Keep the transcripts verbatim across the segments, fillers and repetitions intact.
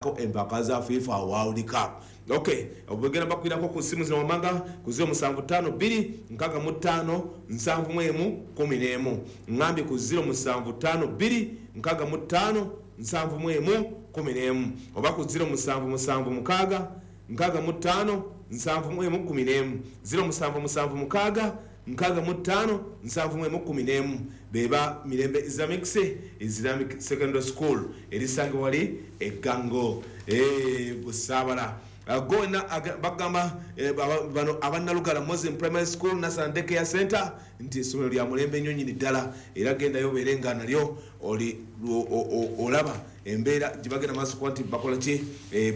Empaka za FIFA World Cup. Okay, obugenda bakwirako ku simu zino wamanga ku zero musanvu ttaano bbiri nkaaga mu ttaano nsanvu mu emu kkumi n'emu. Ŋŋambye ku zero musanvu ttaano bbiri nkaaga mu ttaano nsanvu mu emu kkumi n'emu, oba ku zero musanvu musanvu mukaaga nkaaga mu ttaano nsanvu mu emu kkumi n'emu, zero musanvu musanvu mukaaga nkaaga mu ttaano nsanvu mu emu kkumi n'emu. Beba Mirembe Islamic Islamic Secondary School erisangibwa wali Eggango, eh, Busaabala. Gona bagamba bano abannalugala Muslim Primary School Nassan Daycare Center nti essomero lya mulembe nnyo nnyini ddala, era gendayo obeere nga nalyo oli olaba embeera gye bagenda maaso kuba nti bakola ki,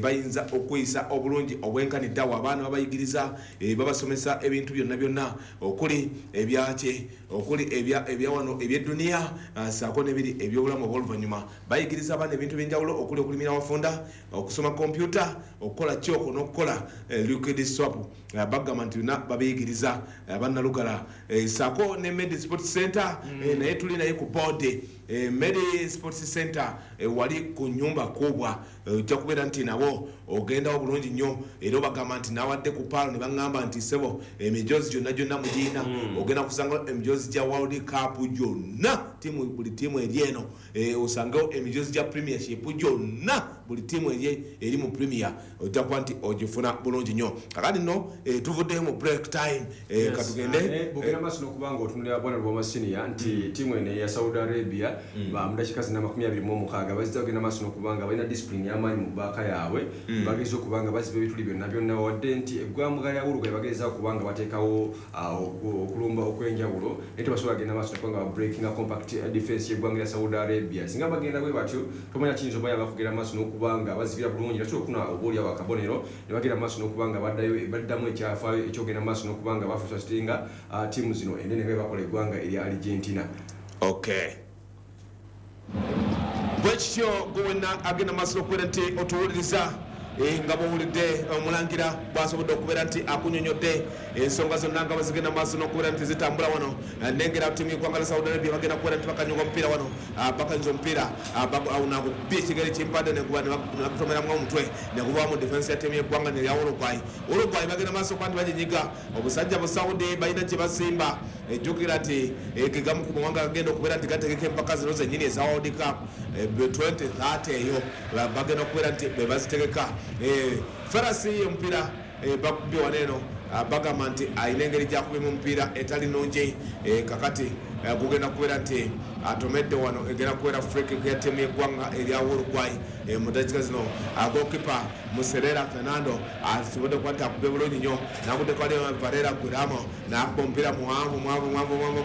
bayinza okweyisa obulungi obwenkanidde awo. Abaana babayigiriza, babasomesa ebintu byonna byonna okuli ebyaki, okuli ebya wano eby'edduniya, ssaako n'ebiri ebyobulamu obw'oluvannyuma. Bayigiriza abaana ebintu ebyenjawulo okuli okulimira awafunda, okusoma kompyuta, okukola kyoko n'okukola liquid soap. Bagamba nti byonna babiyigiriza abannalugala, ssaako ne Medi Sports Center, naye tuli naye ku board Medi Sports Center wali ku nyumba kubwa, ojja kubeera nti nabo ogendawo bulungi nnyo. Era obagamba nti nawadde ku paalo ne baŋŋamba nti ssebo emijoozi gyonna gyonna mugiina, ogenda kusanga emijoozi gya World Cup gyonna, ttiimu buli ttiimu eri eno, osangewo emijoozi gya Premiership gyonna, buli ttiimu eri eri mu Premier ojja kuba nti ogifuna bulungi nnyo. Kakati nno tuvuddeyo mu break time, katugende bugenda maaso n'okuba nga otunulira bwana Lubwama Senior nti ttiimu eno eya Saudi Arabia mu dakiika zina amakumi abiri mu omukaaga bazija kugenda maaso n'okuba nga balina discipline y'amaanyi mu bbaaka yaabwe, bageza okuba nga baziba ebituli byonna byonna, wadde nti eggwanga lya Uruguay bagezaako okuba nga bateekawo okulumba okw'enjawulo, naye tebasobola kugenda maaso n'okuba nga babreakinga compact defense y'eggwanga lya Saudi Arabia. Singa bagenda bwe batyo, tomanya kiyinza obayamba kugenda maaso n'okuba nga bazibira bulungi, nasobola okufuna oboolyawo akabonero ne bagenda maaso n'okuba nga baddayo baddamu ekyafaayo ekyogenda maaso n'okuba nga bafrustratinga ttiimu zino enene nga bakola eggwanga erya Argentina. Okay, bwekityo gwe wenna agenda maaso n'okubeera nti otuwuliriza, nga bwowulidde omulangira bwasobodde okubeera nti akunyonyodde ensonga zonna nga bwezigenda maaso n'okubeera nti zitambula wano. Nengera ttiimu y'eggwanga lya Saudi Arabia bagenda kubeera nti bakanyuga omupiira wano, bakanyuza omupiira nagukubye ekigere kimpadde nebakutomeramu omutwe neguva mu defense ya ttiimu y'eggwanga nerya Uruguay. Uruguay bagenda maaso okuba nti baginyiga obusajja bu Saudi balina kye basimba. Ejjukira nti gegamu ku mawanga gagenda okubeera nti gategeka empaka zino zennyini eza World Cup twenty thirty, eyo bagenda okubeera nti be bazitegeka. Farasi omupiira bakubye wano eno, bagamba nti alina engeri gyakubyemu omupiira etali nnungi. Kakati gugenda kubeera nti atomedde wano, egenda kubeera free kick ya ttiimu y'eggwanga erya Uruguay. Mu dakiika zino goalkeeper Muserera Fernando asobodde okuba nti akubye bulungi nnyo, naguddeko ali Varela Guillermo n'akuba omupiira muwanvu muwanvu muwanvu muwanvu.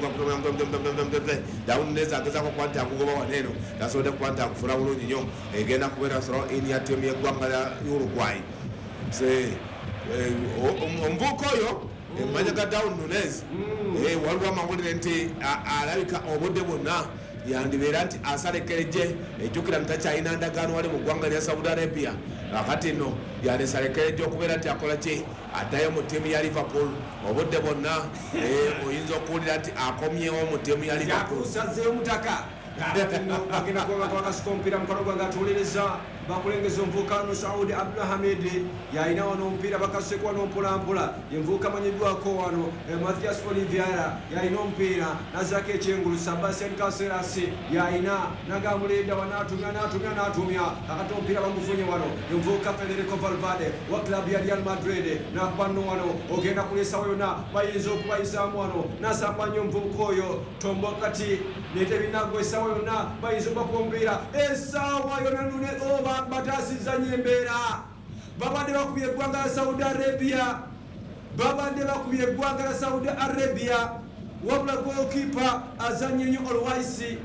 Darwin Nunez agezaako okuba nti agugoba wano eno, tasobodde kuba nti akufuna bulungi nnyo. Egenda kubeera throw in ya ttiimu y'eggwanga lya Uruguay. Omuvubuka oyo emanya ga Darwin Nunez, waliwo amawulire nti alabika obudde bwonna yandibeera nti asalekereje. Ejjukira nti takyalina ndagaano wali mu ggwanga lya Saudi Arabia, kakati nno yandisalekereje okubeera nti akola ki, addayo mu ttiimu ya Liverpool. Obudde bwonna oyinza okuwulira nti akomyewo mu ttiimu ya Liverpool. Yakusazeeyo mutaka bagenda kuba bakasuka omupiira mukono gwange atuwuliriza bakulengeza omuvubuka no Saudi Abdulhamid yalina wano omupiira bakaseko wano mpolampola, yenvubuka amanyiddwako wano Mathias Oliveira yalina omupiira nazaako ekyengulu Sebastian Caceres yalina nagamulinda wanatumya natumya natumya akati omupiira bagufunye wano yenvubuka Federico Valverde wa club ya Real Madrid nakuba nno wano ogenda kulesawo yonna bayinza okubayisaamu wano nasamba nnyo omuvubuka oyo tombo kati netebinagwa essaawa yonna bayinza okubakuba omupiira essaawa yonna nune oba bataasizza nnyo embeera. Babadde bakubye eggwanga lya Saudi Arabia, babadde bakubye eggwanga lya Saudi Arabia, wabula goalkeeper azannye nnyo Olwaisi,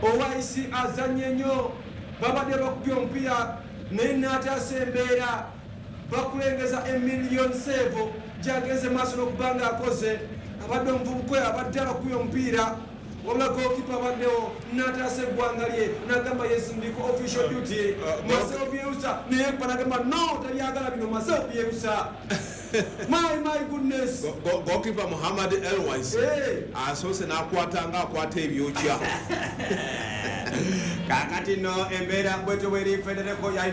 Olwaisi azannye nnyo, babadde bakubye omupiira naye n'ataasa embeera. Bakulengeza emiliyoni sevo gyagenze maaso n'okuba nga akoze, abadde omuvubuka oyo abadde abakubye omupiira, wabula goalkeeper abaddewo n'ataasa eggwanga lye n'agamba yes ndiko official duty. Marcelo Bielsa naye kuba n'agamba no tabyagala bino Marcelo Bielsa. My my goodness. Goalkeeper Muhammad Elwais asoose n'akwata nga akwata ebyokya. Kakati no embeera bwetyo bweri, Federico yalina